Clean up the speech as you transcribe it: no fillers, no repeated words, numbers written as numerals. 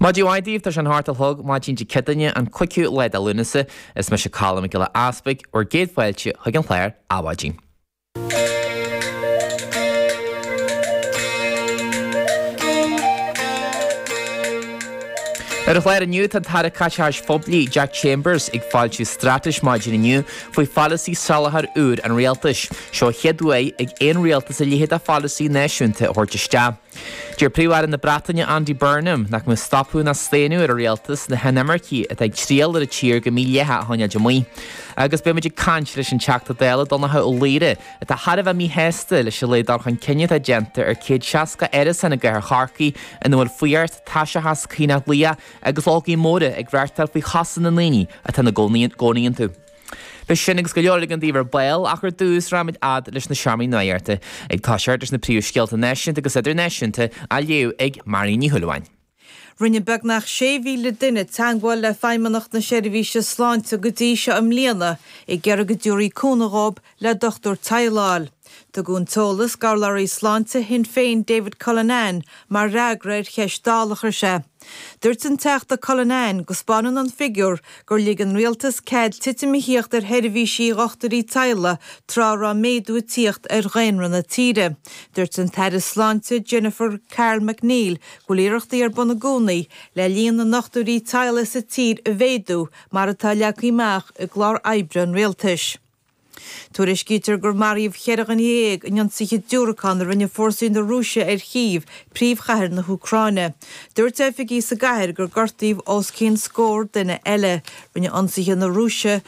Maidin mhaith daoibh, tá sé an hocht a chlog, maidin Dé Céadaoine, an 5ú lá de Lúnasa. Is mise Colm Mac Giolla Easpaig, bhur gcéad fáilte chuig an chlár Adhmhaidin. Ar an chlár inniu, tá an tAire Caiteachais Phoiblí, Jack Chambers, ag foilsiú straitéis maidin inniu faoi pholasaí soláthair úr an rialtais. Seo an chéad uair ag aon rialtas a leithéid de pholasaí náisiúnta a thabhairt isteach. Deir Príomh-Aire na Breataine Andy Burnham nach mbeidh stopadh ná staonadh ar an rialtas na hinimircigh atá ag triall ar an tír go mídhleathach a choinneáil amuigh. Agus beidh muid ag caint leis an Teachta Dála Donnchadh Ó Laoghaire atá thar a bheith míshásta leis an laghad dul chun cinn atá déanta ar 160 árasán i gcathair Chorcaí ina bhfuil fuireacht, taiseachas, caonach liath agus logaí móra ag reáchtáil faoi chosa na ndaoine atá ina gcónaí iontu. Beidh sin agus go leor eile againn daoibh ar ball ach ar dtús raghaimid fhad leis na seomraí nuachta ag toiseacht leis na príomhscéalta náisiúnta agus idirnáisiúnta á léamh ag Marion Ní Shúilleabháin. Rinne beagnach 6,000 duine teagmháil le Feidhmeannacht na Seirbhíse Sláinte go dtí seo i mbliana ag iarraidh go dtabharfaí cúnamh dhóibh le dochtúir teaghlaigh a fháil. Tugadh an t-eolas d'urlabhraí sláinte Shinn Féin David Cullinane mar fhreagra ar cheist Dála a chuir sé. Dúirt an Teachta Cullinane go 'spáineann an figiúr gur lig an rialtas cead titim a thíocht ar sheirbhísí dhochtúirí teaghlaigh tráth a raibh méadú ag tíocht ar dhaonra na tíre. Dúirt an tAire Sláinte Jennifer Carroll MacNeill go bhfuil iarrachtaí ar bun i gcónaí le líon na ndochtúirí teaghlaigh sa tír a mhéadú mar atá leagtha amach i gclár oibre an rialtais. Tuairiscítear gur maraíodh 14 dhuine in ionsaithe diúracán a rinne fórsaí na Rúise ar Chív, príomhchathair na hÚcráine. Dúirt oifigigh sa gcathair gur gortaíodh os cionn scór duine eile. Rinne ionsaithe na Rúise.